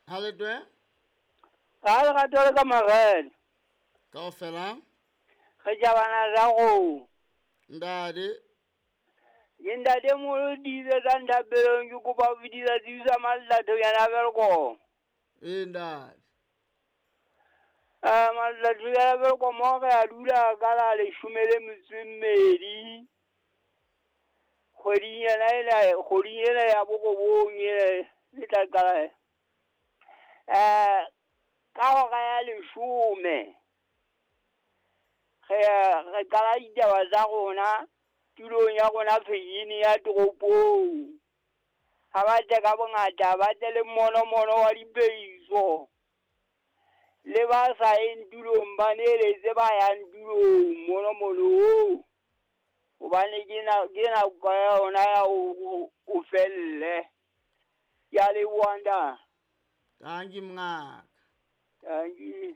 Ha le twe? Ga lerato le ka marele. Kaofela? Re jabana za go. Ntate. Ke ntate moholo dibe tsa nthapelong ke kopa ho fetisa tsebisa Mallathonyana a Welkom. Ee ntate. Mallathonyana a Welkom mo re a dula ka la leshome le metso e mmedi. Kgweding ena ena kgweding ena ya borobong ena e tla qala. Ka hora ya leshome. Re qala ditaba tsa rona tulong ya rona Pheyini ya toropong. Ha ba tle ka bongata, ba tle le monomono wa dipeiso. Le ba sa yeng tulong ba neletse ba yang tulong monomono oo. Hobane ke nako ya yona ya o felle. Ke a leboha ntate. Tanki mongaka. Tanki.